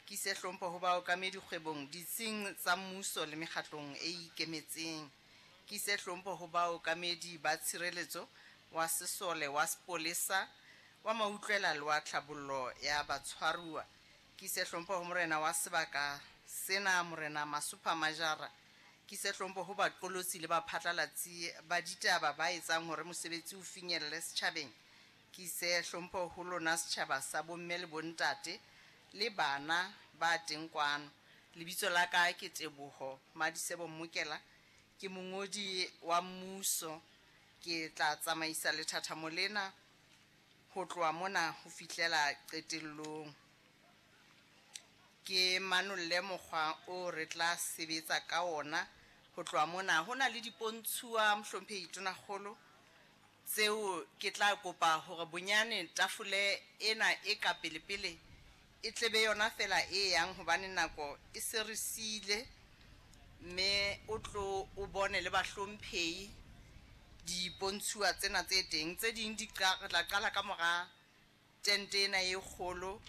Ke ise hlompho ho baokamedi kgwebong, ditsing tsa mmuso le mekgatlong e ikemetseng. Ke ise hlompho ho baokamedi ba tshireletso, wa sesole, wa sepolesa, wa mautlwela le wa tlhabollo ya batshwaruwa. Ke ise hlompho ho morena wa sebaka sena, Morena Masupha Majara. Ke ise hlompho ho baqolotsi le baphatlalatsi ba ditaba ba etsang hore mosebetsi o finyelle setjhabeng. Ke ise hlompho ho lona setjhaba sa bomme le bontate le bana ba teng kwano. Lebitso la ka ke Teboho Madisebo Mmokela, ke mongodi wa mmuso. Ke tla tsamaisa lethathamo lena ho tloha mona ho fihlela qetellong. Ke manolle mokgwa o re tla sebetsa ka ona ho tloha mona. Ho na le dipontshuwa, Mohlomphehi Tonakgolo, tseo ke tla kopa hore bonyane tafole ena e ka pelepele e tlebe yona fela e yang, hobane nako e se re siile, mme o tlo o bone le bahlomphehi dipontshuwa tsena tse teng. Tse ding di re tla qala ka mora tente ena e kgolo,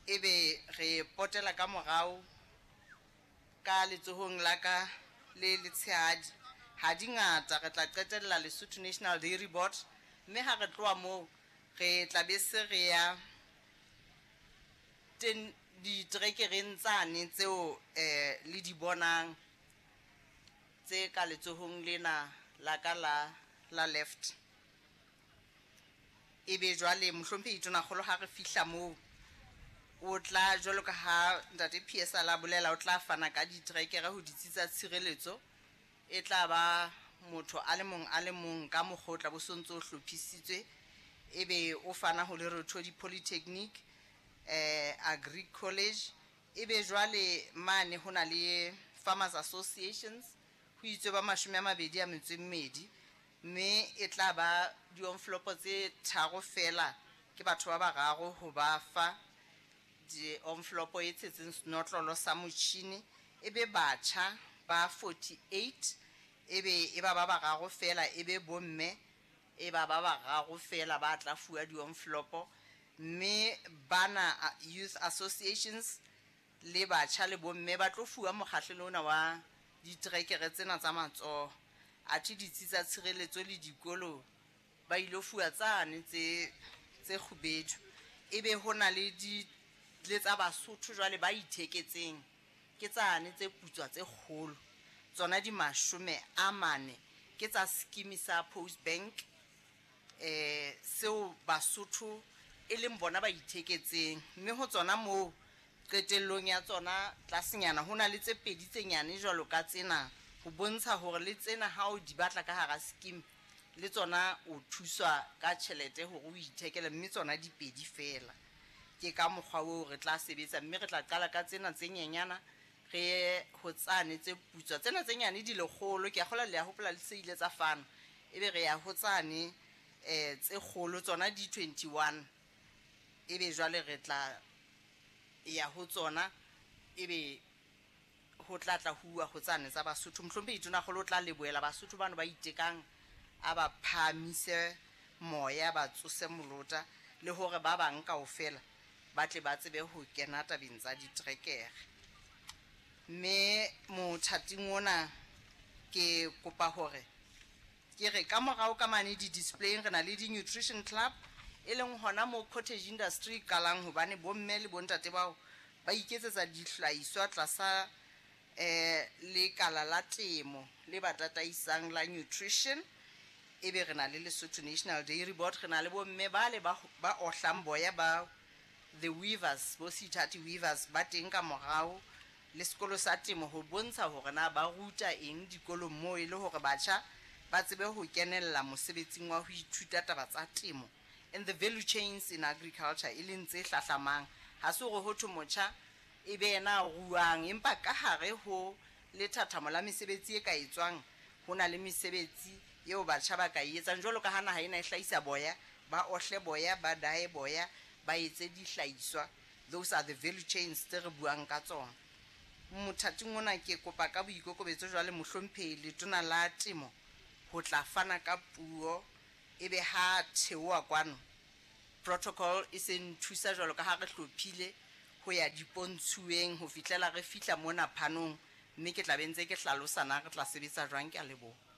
ebe re potela ka morao ka letsohong la ka le letshehadi. Ha di ngata, re tla qetella Lesotho National Dairy Board, mme ha re tloha moo re tla be se re ya ten diterekereng tsane tseo le di bonang tse ka letsohong lena la ka la left. Ebe jwale Mohlomphehi Tonakgolo ha re fihla moo, o tla, jwalo ka ha ntate PS a la bolela, o tla fana ka diterekere ho ditsi tsa tshireletso. E tla ba motho a le mong a le mong ka mokgwa o tla bo sontso o hlophisitswe, ebe o fana ho Lerothodi Polytechnic, Agri College. Ebe jwale mane ho na le Farmers Associations, ho itswe ba 22, mme e tla ba di-envelope tse 3 fela, ke batho ba bararo ho ba fa di-envelope e tshetseng senotlolo sa motjhini. Ebe batjha ba 48, ebe e ba ba bararo fela, ebe bomme e ba ba bararo fela ba tla fuwa di-envelope. Mme bana youth associations le batjha le bomme ba tlo fuwa mokgahlelo ona wa diterekere tsena tsa matsoho. Athe ditsi tsa tshireletso le dikolo ba ilo fuwa tsane tse kgubedu. Ebe ho na le di le tsa Basotho jwale ba itheketseng, ke tsane tse putswa tse kgolo, tsona di 40, ke tsa scheme sa Post Bank, seo Basotho e leng bona ba itheketseng. Mme ho tsona moo qetellong ya tsona tlasenyana ho na le tse pedi tse nyane jwalo ka tsena, ho bontsha hore le tsena ha o di batla ka hara scheme le tsona o thuswa ka tjhelete hore o ithekele, mme tsona di pedi fela. Ke ka mokgwa oo re tla sebetsa, mme re tla qala ka tsena tse nyenyana, re ye ho tsane tse putswa. Tsena tse nyane di lekgolo, ke a kgolwa le a hopola le se ile tsa fana. Ebe re ya ho tsane tse kgolo, tsona di 21, ebe jwale re tla ya ho tsona, ebe ho tla tla huwa ho tsane tsa Basotho. Mohlomphehi Tonakgolo o tla lebohela Basotho bano ba itekang, a ba phahamise moya, ba tsose molota, le hore ba bang kaofela ba tle ba tsebe ho kena tabeng tsa diterekere. Mme mothating ona ke kopa hore ke re ka morao ka mane di-displaying re na le di-nutrition club, e leng hona moo cottage industry e qalang, hobane bomme le bontate bao ba iketsetsa dihlahiswa tlasa lekala la temo le ba tataisang la nutrition. Ebe re na le Lesotho National Dairy Board, re na le bomme bale ba ohlang boya ba the weavers, bo Sithati Weavers ba teng ka morao, le sekolo sa temo ho bontsha hore na ba ruta eng dikolong moo, e le hore batjha ba tsebe ho kenella mosebetsing wa ho ithuta taba tsa temo and the value chains in agriculture, e leng tse hlahlamang. Ha se hore ho thwe motjha e be yena a ruang, empa ka hare ho lethathamo la mesebetsi e ka etswang, ho na le mesebetsi eo batjha ba ka e etsang. Jwalo ka ha naha ena e hlahisa boya, ba ohle boya, ba daye boya, ba etse dihlahiswa. Those are the value chains tse re buang ka tsona. Mothating ona ke kopa ka boikokobetso jwale Mohlomphehi Letona la Temo ho tla fana ka puo, ebe ha theoha kwano protocol e se nthusa jwalo ka ha re hlophile ho ya dipontshuweng ho fihlela re fihla mona phanong, mme ke tla be ntse ke hlalosa na re tla sebetsa jwang. Ke a leboha.